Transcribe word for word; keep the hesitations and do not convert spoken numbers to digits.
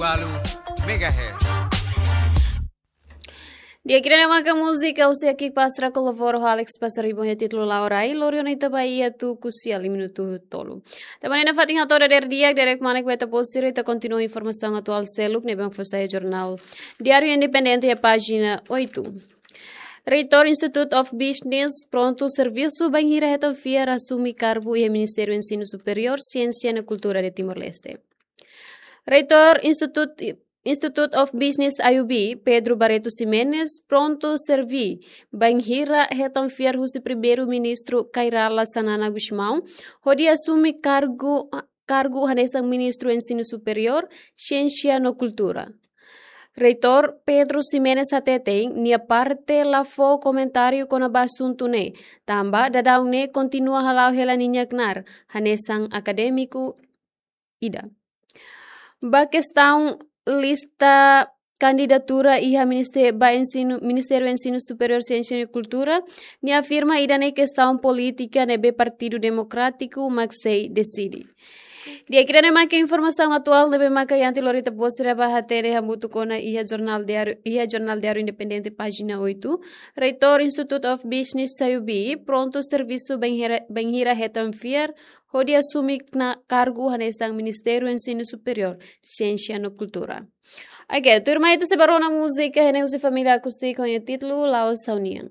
Walu megahertz. Di'ak, ida-ne'e maka múzika husi Aki Pastra kolabora ho Alex Pasaribu, ho títulu La'o Rai, lori ona ita ba iha tuku sia lima minutu tolu. Tanba ne'e nafatin hato'o dadeer di'ak, dadeer kmanek ba ita-boot sira, ita kontinua informasaun atuál seluk ne'ebé mak fó sai jornál Diário Independente iha pájina oito. Reitór Institute of Business prontu servisu bainhira hetan fiar asume kargu iha Ministériu Ensinu Superiór, Siénsia no Kultura de Timor-Leste. Reitór Institute, Institute of Business, I U B, Pedro Barreto Ximenes, prontu serví bainhira hetan fiar husi Primeiru-Ministru Kay Rala Xanana Gusmão, hodi asume kargu, kargu hanesan Ministru Ensinu Superiór, Siénsia no Kultura. Reitór Pedro Ximenes hateten, nia parte la fó komentáriu kona-ba asuntu ne'e, tanba daudaun ne'e kontinua hala'o hela ninia knaar hanesan akadémiku ida. Ba kestaun lista kandidatura iha ministé-, ba ensinu, Ministériu Ensinu Superiór, Siénsia no Kultura, nia afirma ida-ne'e kestaun polítika ne'ebé Partidu Demokrátiku mak sei deside. Di'ak, ida-ne'e maka informasaun atuál ne'ebé maka iha ita lori ita-boot sira ba hatene hamutuk ona iha jornál Diário, iha jornál Diário Independente pájina oito. Reitór Institute of Business, I U B, prontu servisu bainhira, bainhira hetan fiar hodi asume knaar kargu hanesan Ministériu Ensinu Superiór, Siénsia no Kultura. Oke, tuirmai ita sei ba rona múzika iha ne'e husi Família Acústico ho títulu La'o Saunian.